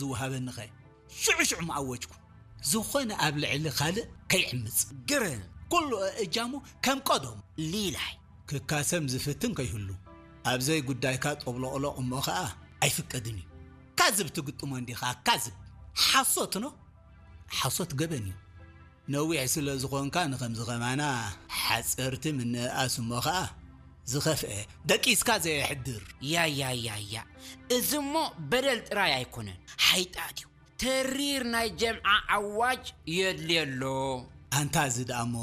ዝወሃበኒኸ ሽዑ ሽዑ ምኣወጅኩ። ዝኾነ ኣብ ልዕሊ ካልእ ከይዕምጽ። ግርም። ኩሉ እጃሙ ከም ቀደሙ። ሊላይ። ክካሰም ዝፍትን ከይህሉ። ኣብ ዘይጉዳይካ ጠብሎቕሎቕ እሞ ኸኣ ኣይፍቀድን እዩ። ካዝብ ትግጥሞ እንዲኻ፣ ካዝብ። ሓሶት ኖ? ሓሶት ገበን እዩ። ነዊሕ ስለ ዝኾንካ ንኸምዚ ኸማና ሓጸርቲ ምንእኣስ እሞ ኸኣ ዝኸፍአ ደቂስካ ዘየሕድር። ያያያያ፣ እዚ እሞ በደል ጥራይ ኣይኮነን፣ ሓይጣት እዩ። ተሪር ናይ ጀምዓ ኣዋጅ የድልየሎ። ኣንታ እዚ ደኣ እሞ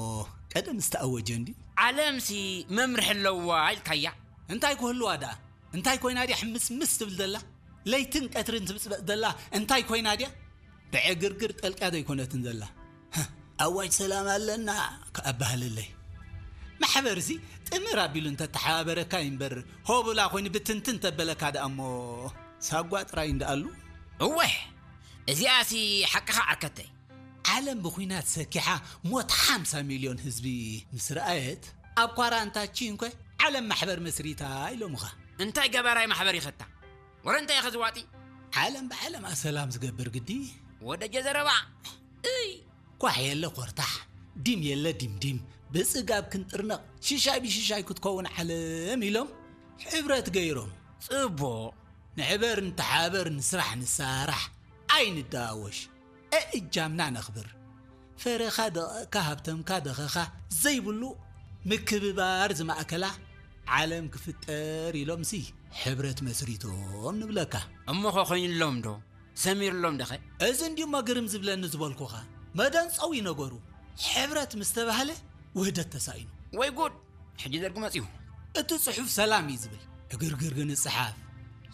ቀደም ዝተኣወጀ እንዲ። ዓለምሲ መምርሒ ኣለዋ ኢልካያ። እንታይ ክህልዋ ደኣ? እንታይ ኮይና ድያ ሕምስምስ ትብል ዘላ? ለይትን ቀትርን ትብጽበጽ ዘላ እንታይ ኮይና ድያ? ብዕግርግር ጠልቅያ ዘይኮነትን ዘላ። ኣዋጅ ሰላም ኣለና ከኣባህልለይ። ማሕበርሲ ጥምር ኣቢሉ እንተተሓባበረካ ይንበር፣ ሆብላ ኮይኑ ብትንትን ተበለካ ደኣ እሞ ሳጓ ጥራይ እንዳኣሉ። እወ፣ እዚኣሲ ሓቅኻ ዓርከተይ። ዓለም ብኹናት ሰኪሓ ሞት ሓምሳ ሚልዮን ህዝቢ ምስ ረኣየት፣ ኣብ ኳራንታቺን ኮ ዓለም ማሕበር መስሪታ ኢሎምኻ። እንታይ ገባራይ ማሕበር ይኸታ? ወረ እንታይ ኢኸ ዝዋጢ? ዓለም ብዓለማ ሰላም ዝገብር ግዲ። ወደጀ ዘረባ። እይ። ኳሕ የለ ኮርታሕ፣ ዲም የለ ዲምዲም፣ ብጽጋብ ክንጥርነቕ፣ ሽሻይ ብሽሻይ ክትከውን ዓለም ኢሎም ሕብረት ገይሮም። ጽቡቕ። ንሕበር ንተሓበር ንስራሕ ንሳራሕ ኣይንደዋወሽ። እእጃምና ነኽብር። ፈረኻ ደቐቕካ ሃብተምካ ደኸኻ ዘይብሉ ምክብባር ዝማእከላ ዓለም ክፍጠር ኢሎምሲ ሕብረት መስሪቶም ንብለካ። እሞ ኸ ኮይኑሎም ዶ? ሰሚርሎም ደኸ? እዚ እንዲሞ ግርም ዝብለኒ ዝበልኩኻ። መደንጸዊ ነገሩ። ሕብረት ምስ ተባህለ ውህደት ተሳኢኑ። ወይ ጉድ! ሕጂ ደርጊ መጺኡ። እቲ ጽሑፍ ሰላም እዩ ዝብል። ዕግርግር ግን ይጽሓፍ።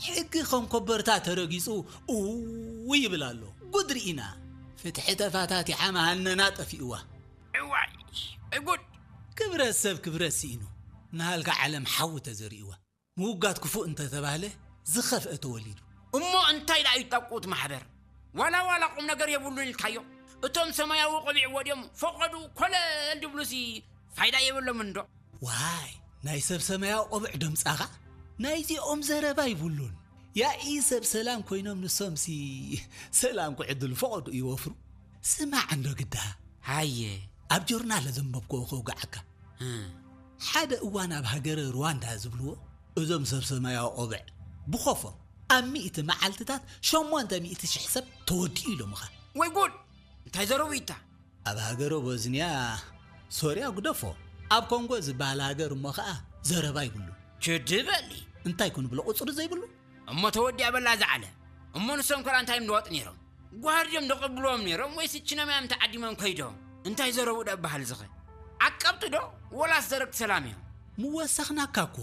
ሕጊ ከም ኮበርታ ተረጊጹ እውይ ይብል ኣሎ። ጉድ ርኢና። ፍትሒ ተፋታቲሓ መሃነና ጠፊእዋ። እዋይ! እጉድ! ክብረት ሰብ ክብረት ስኢኑ። ንሃልካ ዓለም ሓዊ ተዘሪእዋ። ምውጋድ ክፉእ እንተተባህለ ዝኸፍአ ተወሊዱ። እሞ እንታይ ደኣ እዩ ጠብቁ እቲ ማሕበር? ዋላ ዋላ ቁም ነገር የብሉን ኢልካዮ? እቶም ሰማያዊ ቆቢዕ ወድዮም ፈቐዱ ኮለል ድብሉሲ ፋይዳ የብሎምን ዶ? ዋይ፣ ናይ ሰብ ሰማያዊ ቆብዕ ደምጻኻ? ናይዚኦም ዘረባ ይብሉን። ያኢ ሰብ ሰላም ኮይኖም ንሶምሲ ሰላም ክዕድሉ ፈቐዱ ይወፍሩ። ስማዕ እንዶ ግዳ። ሃየ። ኣብ ጆርናል ዘንበብክዎ ከውግዓካ። እም። ሓደ እዋን ኣብ ሃገረ ሩዋንዳ ዝብልዎ እዞም ሰብ ሰማያዊ ቆብዕ ብኾፎም ኣብ ሚእቲ መዓልትታት ሸሞንተ ሚእቲ ሽሕ ሰብ ተወዲኡ ኢሎምኻ። ወይ ጉድ! እንታይ ዘረቡ ኢታ? ኣብ ሃገረ ቦዝንያ፣ ሶርያ ግደፎ፣ ኣብ ኮንጎ ዝበሃል ሃገር እሞ ኸኣ ዘረባ ይብሉ። ችዲ በሊ። እንታይ ኩን ብሎ ቁጽሪ ዘይብሉ? እሞ ተወዲኣ በላ ዝዓለ። እሞ ንሶም ከላ እንታይ ምንዋጥ ነይሮም? ጓሃር ድዮም ደቐብልዎም ነይሮም ወይስ እችኖም እዮም ተዓዲሞም ከይዶም? እንታይ ዘረቡ ደበሃል ዝኸ? ዓቀብቲ ዶ ወላስ ዘረግቲ ሰላም እዮም? ምወሰኽናካ እኮ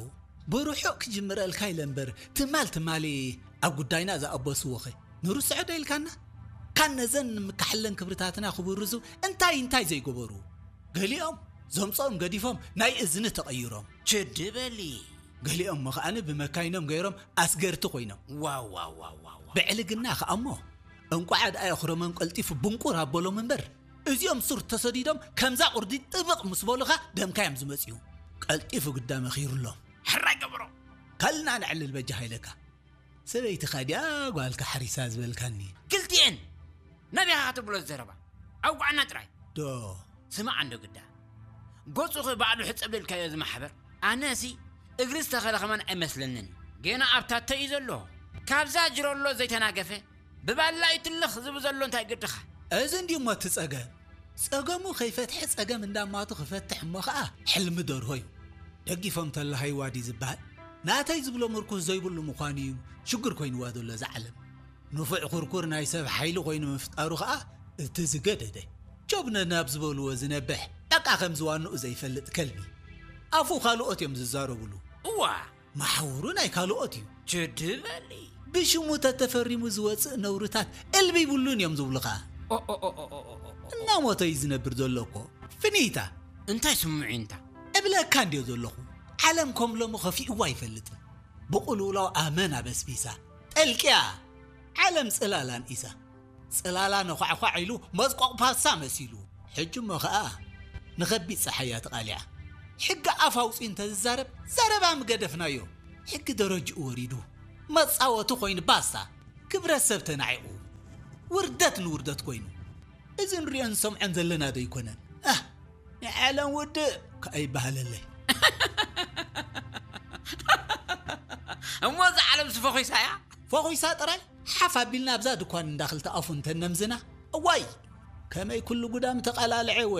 ብርሑቕ ክጅምረልካ ኢለ እምበር ትማል ትማሊ ኣብ ጉዳይና ዝኣበስዎኸ ንርስዖ ዶ ኢልካና? ካን ነዘን ንምካሕለን ክብርታትና ክብርዙ እንታይ እንታይ ዘይገበሩ? ገሊኦም ዘምጾኦም ገዲፎም ናይ እዝኒ ተቐይሮም። ችዲ በሊ። ገሊኦም መኽኣኒ ብመካይኖም ገይሮም ኣስገርቲ ኮይኖም። ዋው፣ ዋው፣ ዋው፣ ዋው፣ ዋው። ብዕልግና ከኣ እሞ፣ እንቋዕ ደኣ የኽረሞም ቀልጢፉ ብንቁር ኣበሎም እምበር፣ እዚኦም ሱር ተሰዲዶም ከምዛ ቁርዲ ጥብቕ ምስ በሉኻ ደምካ እዮም ዝመጽኡ። ቀልጢፉ ግዳ መኺሩሎም። ሕራይ ገበሮ። ከልና ነዕልል በጃኻ ኢለካ። ሰበይትኻ ድያ ጓልካ ሓሪሳ ዝበልካኒ? ክልቲኤን። ናበይ ኢኻ ክትብሎ ዘረባ? ኣውግዓና ጥራይ። ዶ? ስማዕ እንዶ ግዳ። ገጹ ኸ ባዕሉ ሕጸብ ኢልካዮ እዚ ማሕበር? ኣነሲ እግሪ ዝተኸለ ከማን ኣይመስለንን። ገና ኣብ ታተ እዩ ዘሎ። ካብዛ ጅረሎ ዘይተናገፈ ብባላ እዩ ትልኽ ዝብል ዘሎ እንታይ ግድኻ? እዚ እንዲሞ እቲ ጸገም። ጸገሙ ከይፈትሐ ጸገም እንዳማቱ ክፈትሕ እሞ ኸኣ ሕልሚ ደርሆ እዩ። ደጊፎም ተለሃይዋ ድዩ ዝበሃል? ናተይ ዝብሎ ምርኩስ ዘይብሉ ምዃኑ እዩ ሽግር ኮይንዋ ዘሎ እዛ ዓለም። ንፉዕ ኩርኩር ናይ ሰብ ሓይሊ ኮይኑ ምፍጣሩ ኸኣ እቲ ዝገደደ። ጆብነ ናብ ዝበልዎ ዝነብሕ፣ በቃ ከም ዝዋንኡ ዘይፈልጥ ከልቢ። ኣፉ ካልኦት እዮም ዝዛረብሉ። እዋ! መሓውሩ ናይ ካልኦት እዩ። ችዲ በሊ። ብሽሙ ተተፈሪሙ ዝወጽእ ነውርታት እልቢ ይብሉን እዮም ዝብሉኻ። ኦ፣ ኦ፣ ኦ፣ ኦ፣ ኦ፣ ኦ፣ ኦ። እናሞተ እዩ ዝነብር ዘሎ እኮ። ፍኒታ። እንታይ ስምዒንታ? እብለካ እንድዮ ዘለኹ። ዓለም ከም ሎሚ ከፊእዋ ኣይፈልጥን። ብቕልውላው ኣመና በስቢሳ። ጠልቅያ። ዓለም ጽላላ ንኢሳ። ጽላላ ነዃዕኳዕ ኢሉ መስቆቕ ፓስታ መሲሉ። ሕጂ እሞ ኸኣ ንኸቢድ ጸሓያ ተቓሊዓ። ሕጊ ኣፍ ኣውጺኡ እንተዝዛረብ ዘረባ ምገደፍናዮ። ሕጊ ደረጅኡ ወሪዱ። መጻወቲ ኮይኑ ባስታ። ክብረት ሰብ ተናዒቑ። ውርደት ንውርደት ኮይኑ። እዚ ንሪኦን ንሰምዖን ዘለና ዶ ኣይኮነን? ኣህ፣ ናይ ዓለም ውድእ ከኣ ይበሃለለይ። እሞ እዛ ዓለም ስፈኺሳ እያ? ፈኺሳ ጥራይ ሓፍ ኣቢልና ኣብዛ ድኳን እንዳ ክልተ ኣፉ እንተነምዝና፣ እዋይ፣ ከመይ ኩሉ ጉዳም ተቓላልዐ ወ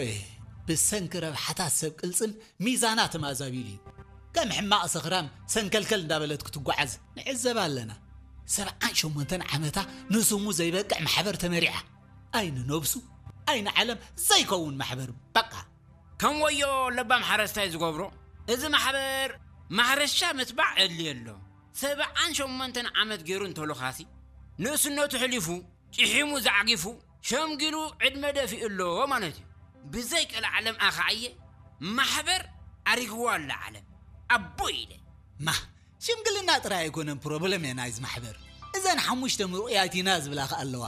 ብሰንኪ ረብሓታት ሰብ ቅልጽም ሚዛና ተማዛቢሉ እዩ። ከም ሕማቕ ሰኽራም ሰንከልከል እንዳበለት ክትጓዓዝ ንዕዘብ ኣለና። ሰብዓን ሸሞንተን ዓመታ ንስሙ ዘይበቅዕ ማሕበር ተመሪዓ። ኣይኒ ነብሱ፣ ኣይኒ ዓለም ዘይከውን ማሕበር በቃ። ከም ወዮ ለባም ሓረስታይ ዝገብሮ፣ እዚ ማሕበር ማሕረሻ ምትባዕ ኣድልዮ ኣሎ። ሰብዓን ሸሞንተን ዓመት ገይሩ እንተሎ ኻሲ፣ ንእስነቱ ሕሊፉ፣ ጭሒሙ ዛዕጊፉ፣ ሸምጊሉ ዕድመ ደፊኡ ኣሎ ማለት እዩ። ብዘይ ቀልዓለም ኣኸዓየ ማሕበር ኣሪግዋ ኣላ ዓለም። ኣቦ ኢለ። ማ፣ ሽምግልና ጥራይ ኣይኮነን ፕሮብለም እየ ናይዚ ማሕበር። እዘን ሓሙሽተ ምሩቕያት ኢና ዝብላ ከኣ ኣለዋ።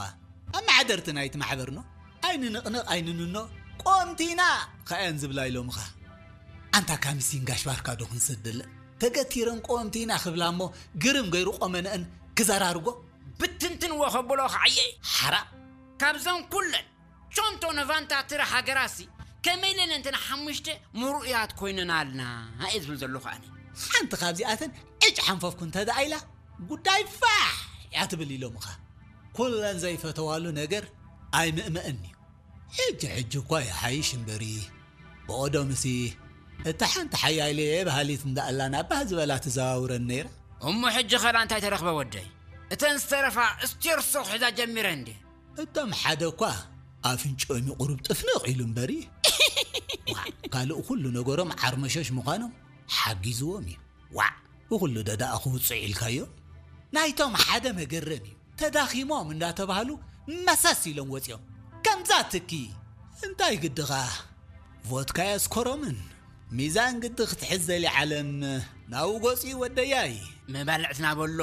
ኣመሓደርቲ ናይቲ ማሕበር ኖ፣ ኣይንንቕንቕ ኣይንንኖ፣ ቆምቲ ኢና ከኣየን ዝብላ ኢሎምኻ። ኣንታ ካምሲን ጋሽ ባርካ ዶ ክንሰደለን? ተገቲረን ቆምቲ ኢና ክብላ እሞ ግርም ገይሩ ቆመነአን ክዘራርጎ። ብትንትንዎ ከብሎ ከዓየ። ሓራ። ካብዘን ኩለን ሾንቶ ነቫንታ ትረ ሃገራሲ ከመይ ኢለን እንተን ሓሙሽተ ምሩእያት ኮይነናልና እየ ዝብል ዘለኹ ኣነ። ሓንቲ ካብዚኣተን ዕጭ ሓንፈፍኩ እንተ ደኣ ኢላ ጉዳይ ፋሕ እያ ትብል ኢሎምኻ። ኩለን ዘይፈተዋሉ ነገር ኣይምእመእን እዩ። ሕጂ ሕጂ እኳ ይሓይሽ እምበሪ፣ ብቐደምሲ እታ ሓንቲ ሓያለየ በሃሊት እንዳ ኣላ ናብ ባህ ዝበላ ትዘዋውረን ነይራ። እሞ ሕጂ ኸላ እንታይ ተረኽበ ወደይ? እተን ዝተረፋ ስቴርሶ ክሕዛ ጀሚረ እንዴ? እቶም ሓደ እኳ ኣፍንጭኦም እዩ ቁሩብ ጥፍንቕ ኢሉ እምበሪ። ዋዕ፣ ካልእ ኩሉ ነገሮም ዓርመሸሽ ምዃኖም ሓጊዝዎም እዩ። ዋዕ፣ ብኹሉ ደዳኣ ክውፅዕ ኢልካዮ? ናይቶም ሓደ መገረም እዩ። ተዳኺሞም እንዳተባህሉ መሰስ ኢሎም ወፂኦም። ከምዛ ትኪ እንታይ ግድኻ? ቮድካ የስኮሮምን ሚዛን ግዲ ክትሕዝ ዘሊ ዓለም ናብኡ ገፂኡ ወደያይ። መባልዕትና በሎ።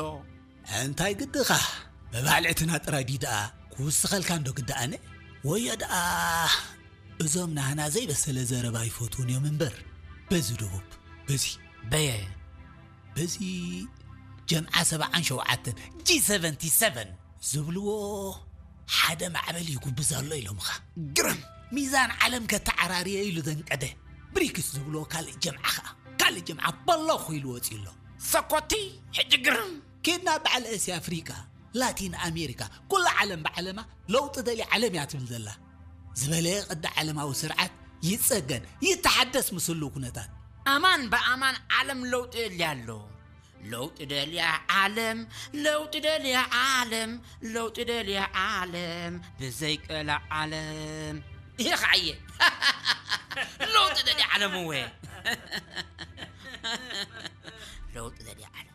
እንታይ ግድኻ? መባልዕትና ጥራይ ድዩ ደኣ ክውስኸልካ እንዶ ግዲ ኣነ? ወዮ ደኣ እዞም ናህና ዘይበሰለ ዘረባ ይፈትዉን እዮም እምበር። በዚ ደቡብ፣ በዚ በየ በዚ ጀምዓ ሰብዓን ሸውዓተን፣ ጂ ሰቨንቲ ሰቨን ዝብልዎ ሓደ ማዕበል ይጉብዝ ኣሎ ኢሎምኻ። ግርም! ሚዛን ዓለም ከተዓራርየ ኢሉ ዘንቀደ። ብሪክስ ዝብልዎ ካልእ ጀምዓ ኸኣ፣ ካልእ ጀምዓ በለኹ ኢሉ ወፂኡ ኣሎ። ሰኮቲ፣ ሕጂ ግርም! ኬድና በዓል እስያ ኣፍሪቃ፣ ላቲን ኣሜሪካ፣ ኩላ ዓለም ብዓለማ ለውጢ ደልያ ዓለም እያ ትብል ዘላ። ዝበለየ ቅዲ ዓለማዊ ስርዓት ይጸገን፣ ይተሓደስ ምስ ህልው ኩነታት። ኣማን ብኣማን ዓለም ለውጢ የድልያ ኣሎ። ለውጢ ደልያ ዓለም፣ ለውጢ ደልያ ዓለም፣ ለውጢ ደልያ ዓለም፣ ብዘይ ቀላ ዓለም። ይኸዓየ። ለውጢ ደልያ ዓለም እወ። ለውጢ ደልያ ዓለም።